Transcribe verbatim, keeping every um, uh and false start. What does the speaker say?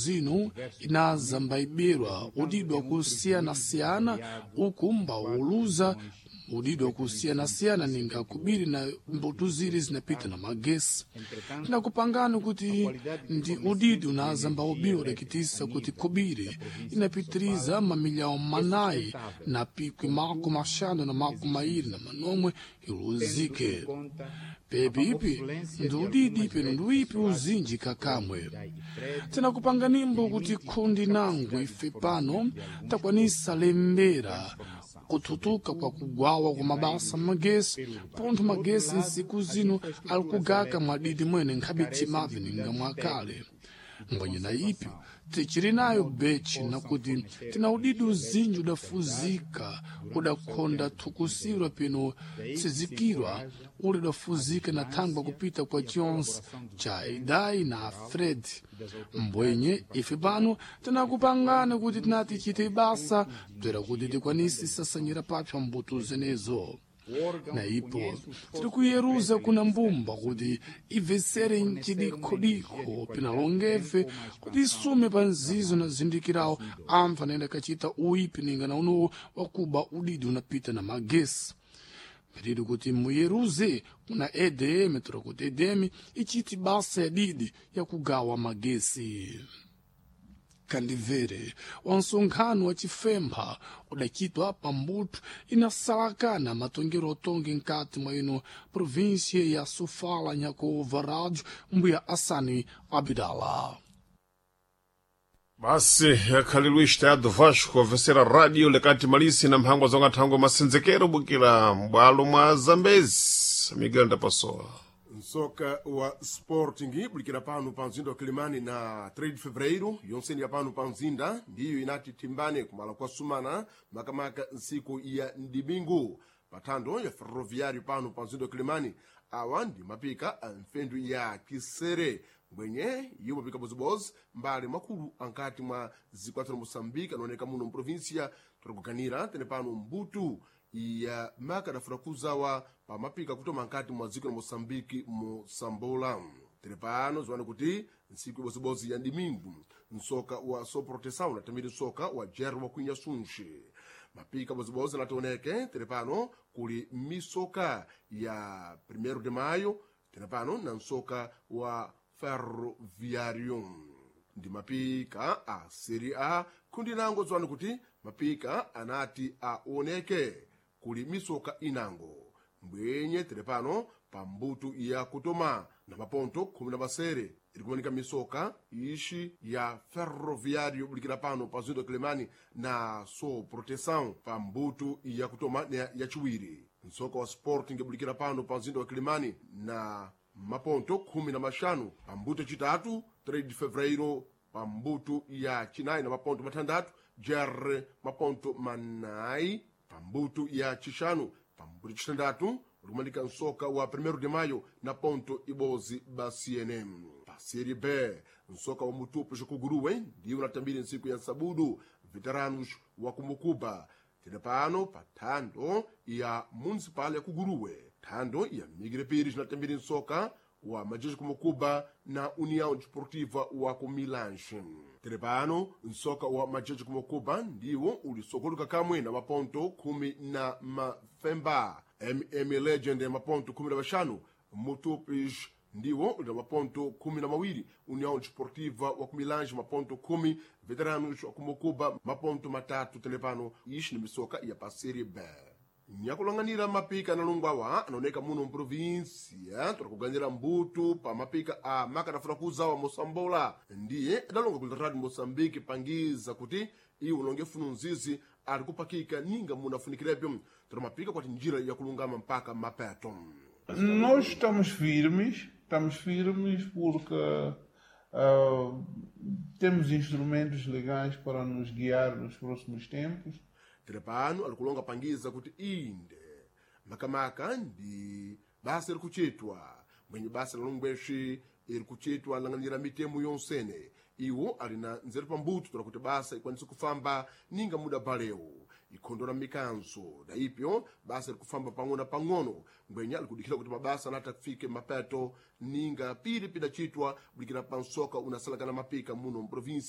Zino inaza mbaibirwa udidwa kusiyana-siyana uku mbauluza udidwa kusiyana-siyana ninga kubiri na mbuto ziri zinapita na magesi. Tinakupangani kuti ndi udidi unaza mbaubiwa udakitisa kuti kubiri inapitiriza mamilhão manayi na pikwi makumi axanu na makumi mairi na manomwe iluzike. Pepipi ndi udidi peno ndi uipi uzinji kakamwe. Tinakupanganimbo kuti khundi nangu ife pano takwanisa lembera kuthutuka kwa kugwawa kwa mabasa magesi, pontho magesi nsiku zino ali kugaka mwadidi mwene nkhabe timavi ninga mwakale. Mbwenye na ipyo tichiri nayo bechi nakuti tina udidi uzinji udafuzika udakhonda thukusirwa peno tsizikirwa uli udafuzika na thangwa kupita kwa chionse cha Idai na Fred. Mbwenye ife pano tinakupangani kuti tinati tichite basa bzera kuti tikwanise sasanyira papsa mbuto zenezo. Na ipo tiri kuyeruza kuna mbumba kuti ibvesere mcidikhodikho pinalongefe kuti isume pa nzizo na zindikirawo anthu anayenda kachita uipi ninga na unowo wakuba udidi unapita na magesi. Pedido kuti muyeruze kuna E D M, tora kuti E D M ichiti basa ya didi yakugawa magesi. Kandivere wa nsonkhano wa chifempha udachitwa pambuto inasalakana matongero otonge nkati mwa ino província ya Sofala, nyakuva rádio mbuya Assani Abdala. Basi yakhalilu Estado Vasco a vencer a rádio lekati malisi na mphangwa zonga thangwe masenzekero bukira m'bwalo mwa Zambezi. Miguel Ndapasowa. Nsoka wa Sporting bulikira pano pa mzinda wa Kilimani na três de Fevereiro yonseni ya pano pa mzinda ndiyo inati timbane kumala kwa sumana, makamaka nsiku ya ndimingu pathando ya Ferroviário pano pa mzinda wa Kilimani. Awa ndi mapika a mfendu ya kisere mbwenye iwo mapika bozibozi mbali makulu ankati mwa zikwathu la Moçambique anaoneka muno mprovinsia tikuganira tene pano mbutu ya maka adafuna kuzawa pa mapika kutoma nkati mwa dziko la Moçambique mosambola. Tere pano ziwane kuti ntsiku ibozibozi ya dimingu msoka wa Soproteção unatamiri msoka wa Jerry wa Kwinyasunche. Mapika bozibozi anationeke tere pano kuli misoka ya Primeiro de Maio tere pano na msoka wa Ferroviário ndi mapika a Serie A kundi nango. Dziwani kuti mapika anati aoneke kuli misoka inango mbwenye tere pano pa mbuto ya kutoma na maponto khumi na masere iri kumanika misoka ixi ya Ferroviário bulikira pano pa zinto Kilimani na So Proteção pa mbuto ya kutoma na yaciwiri. Msoka wa Sporting bulikira pano pa mzinda wa Kilimani na maponto khumi na maxanu pa mbuto yacitatu, três de Fevereiro pa mbuto ya cinayi na maponto matandatu, Jerre maponto manayi pa mbuto ya cixanu. Pa mbuto yacitandatu likumanika msoka wa Primeiro de Maio na ponto ibozi ba C N M. Pa Série B, msoka wa Mutupo Xikuguruwe ndiwo unatambire ntsiku ya nsabudu Veteranos wa Kumukuba tene pano pa thando ya Municipal ya Kuguruwe. Thando ya Migre Pires natambire msoka wa Majejo Kumukuba na União Desportiva wa Kumilanche. Tere pano msoka wa Majejo Kumukuba ndiwo ulisokoluka kamwe na maponto khumi na mafemba, M M Legend ya maponto khumi na maxanu, Mutupis ndiwo uli na maponto khumi na mawiri, União Desportiva wa Kumilange maponto khumi, Veteranos wa Kumukuba maponto matatu. Telepano ixi ni misoka ya pa Série B. Nyakulang'anira mapika analungwawa anaoneka muno mprovinsia tikuganira mbuto pa mapika a makadafuna kuzawa mosambola ndiye adalonga ku Radio Moçambique pangiza kuti iwo longe funu nzizi ali kupakika ninga munafunikirepyo tira mapika kwati njira yakulungama mpaka mapeto. Nós estamos firmes, estamos firmes porque ah, temos instrumentos legais para nos guiar nos próximos tempos. Tere pano alikulonga pangiza kuti inde makamaka ndi basa iri kuchitwa mwenye basa la longweshi iri kuchitwa lang'anira mitemo yonsene. Iwo ali na nzeru pambuto tola kuti basa ikwanise kufamba ninga muda balewu ikhondola mikanso na ipyo basa likufamba pang'ono na pang'ono ngwenya alikudikira kuti mabasa anati afike mapeto ninga pili pidachitwa bulikira pansoka unasalakana mapika muno mprovinsi.